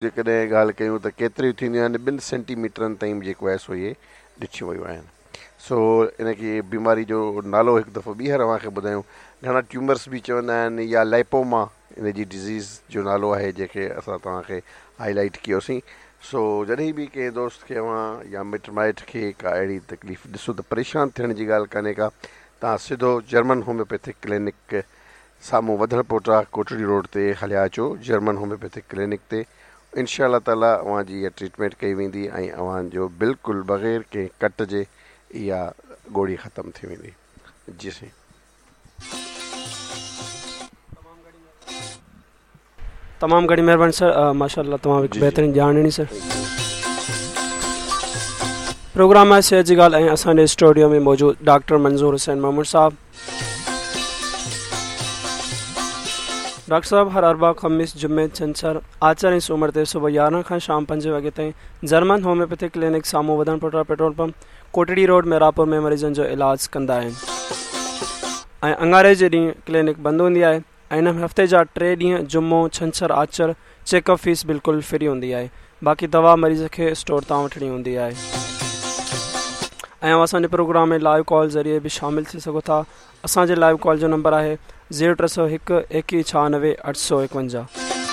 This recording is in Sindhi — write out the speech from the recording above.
جيڪڏهن ڳالهه ڪيون ته ڪيتريون ٿينديون آهن ٻن سينٽي ميٽرن تائين به جيڪو آهي سو اهي ڏٺيون ويون آهن سو ان کي بيماري جو نالو هڪ دفعو ٻيهر اوهان کي ٻڌايون گهڻا ٽيومرس به چوندا آهن يا لائپوما ان جي ڊزيز جو نالو آهي جنهن کي اسان توهان کي هائي لائيٽ ڪيوسين سو جڏهن به ڪنهن دوست کي اوهان يا مٽ مائٽ کي ڪا اهڙي تڪليف ڏسو ته پريشان ٿيڻ جي ڳالهه ڪانهي ڪا توهان سڌو جرمن هوميوپيٿڪ ڪلينڪ سامهون وڌڻ پوٽا ڪوٽڙي روڊ تي هليا اچو جرمن هوميوپيٿڪ ڪلينڪ تي انشاء الله تعالي اوهان جي اها ٽريٽمينٽ ڪئي ويندي ۽ اوهان جو بلڪل بغير ڪنهن ڪٽ جي اها ڳوڙهي ختم ٿي ويندي جي سائين. تمام گهڻي مهرباني سر ماشاء الله تمام هڪ بهترين ڄاڻ ڏني سر پروگرام آهي صحت جي ڳالهه ۽ اسان جي اسٽوڊيو ۾ موجود ڊاڪٽر منظور حسين ميمڻ صاحب ڊاڪٽر صاحب هر اربع خميس جمعي ڇنڇر آچر ۽ سومر تي صبح 11 کان شام 5 وڳي تائين جرمن هوميوپيٿڪ ڪلينڪ سامهون وڌڻ پوٽا petrol pump Kotri road Mehrabpur ۾ مريضن جو علاج ڪندا آهن ۽ اڱاري جي ڏينهن ڪلينڪ بند هوندي آهي ۽ ان ۾ هفتي جا ٽي ڏينهن جمعو، ڇنڇر، آچر چيڪ اپ فيس بلڪل فري هوندي آهي باقي دوا مريض کي اسٽور تان وٺڻي هوندي آهي ۽ اوهان اسان جي پروگرام ۾ لائيو ڪال ذريعي به شامل ٿي سگهو ٿا اسان جي لائيو ڪال جو نمبر آهي زيرو 301 21 96 851.